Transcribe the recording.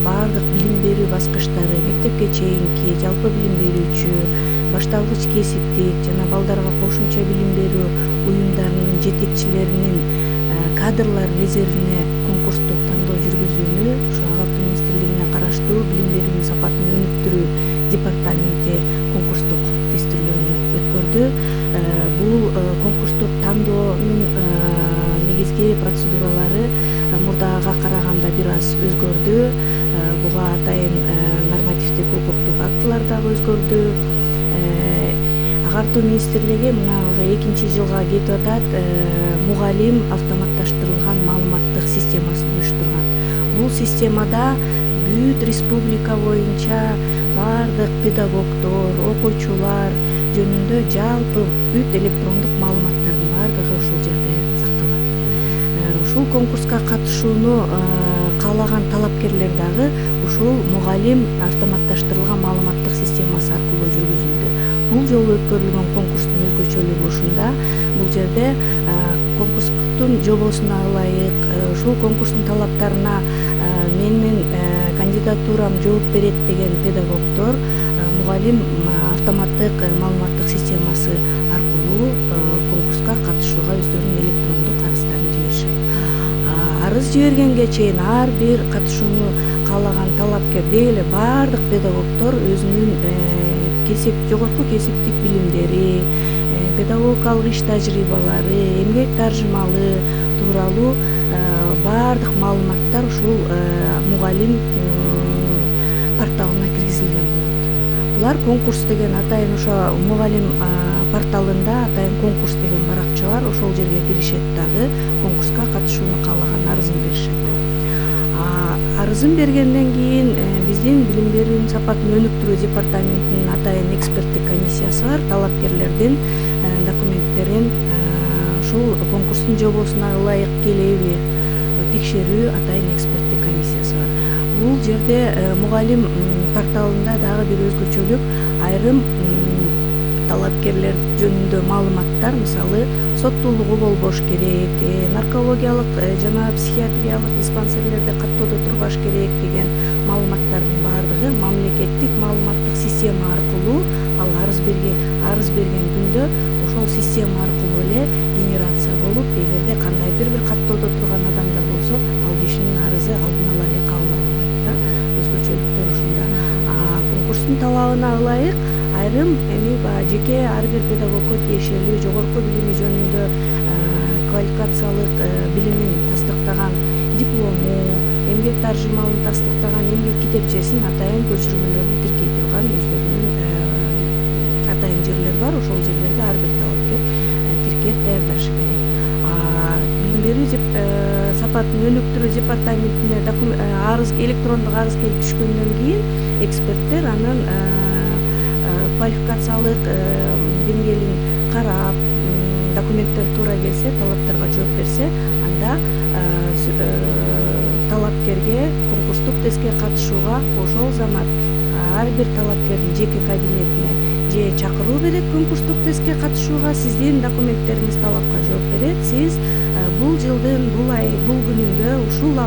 баардык билим берүү баскычтары, мектепке чейинки жалпы билим берүүчү, башталгыч кесиптик жана балдарга кошумча билим берүү уюмдарынын жетекчилеринин кадрлар резервине конкурстук тандоо жүргүзүүнү ушу Агартуу министрлигине караштуу билим берүүнүн сапатын өнүктүрүү департаменти конкурстук тестирлөөнү өткөрдү. Бул конкурстук тандоонун негизги процедуралары мурдага караганда бир аз өзгөрдү. Буга атайын нормативдик укуктук актылар дагы өзгөрдү. Агартуу министрлиги мына уже 2-жылга кетип атат, мугалим автоматташтырылган маалыматтык системасын уюштурган. Бул системада бүт республика боюнча баардык педагогдор, окуучулар жөнүндө жалпы бүт электрондук маалыматтардын баардыгы ушул жерде сакталат. Ушул конкурска катышууну каалаган талапкерлер дагы ушул мугалим автоматташтырылган маалыматтык системасы аркылуу жүргүзүлдү. Бул жолу өткөрүлгөн конкурстун өзгөчөлүгү ушунда. Бул жерде конкурстун жобосуна ылайык, ушул конкурстун талаптарына менин кандидатурам жооп берет деген педагогдор мугалим автоматтык маалыматтык системасы аркылуу конкурска катышууга өздөрүнүн электрондук арыздарын жиберишет. Арыз жибергенге чейин ар бир катышууну каалаган талапкер деги эле баардык педагогдор өзүнүн жогорку кесиптик билимдери, педагогикалык иш тажрыйбалары, эмгек таржымалы тууралуу баардык маалыматтар ушул мугалим порталына киргизилген болот. Булар конкурс деген атайын ошо мугалим порталында атайын конкурс деген баракча бар, ошол жерге киришет дагы конкурска катышууну каалаган арызын беришет. Арызын бергенден кийин биздин билим берүүнүн сапатын өнүктүрүү департаментинин атайын эксперттик комиссиясы бар. Талапкерлердин документтерин ушул конкурстун жобосуна ылайык келеби текшерүү атайын эксперттик комиссиясы бар. Бул жерде мугалим порталында дагы бир өзгөчөлүк айрым талапкерлер жөнүндө маалыматтар, мисалы, соттуулугу болбош керек, наркологиялык жана психиатриялык диспансерлерде каттоодо турбаш керек деген маалыматтардын баардыгы мамлекеттик маалыматтык система аркылуу ал арыз берген күндө ошол система аркылуу эле генерация болуп, эгерде кандайдыр бир каттоодо турган адамдар болсо, ал кишинин арызы алдын ала эле кабыл алынбайт да. Өзгөчөлүктөр ушунда. Конкурстун талабына ылайык айрым жеке ар бир педагогго тиешелүү жогорку билими жөнүндө квалификациялык билимин тастыктаган диплому, эмгек таржымалын тастыктаган эмгек китепчесин атайын көчүрмөлөрүн тиркей турган өздөрүнүн атайын жерлер бар. Ошол жерлерге ар бир талапкер тиркеп даярдашы керек. Билим берүү сапатын өнүктүрүү департаментине арыз электрондук арыз келип түшкөндөн кийин эксперттер анын квалификациялык деңгээлин карап, документтер туура келсе, талаптарга жооп берсе, анда талапкерге конкурстук тестке катышууга ошол замат ар бир талапкердин жеке кабинетине же чакыруу берет конкурстук тестке катышууга, сиздин документтериңиз талапка жооп берет, сиз бул жылдын бул күнүндө ушул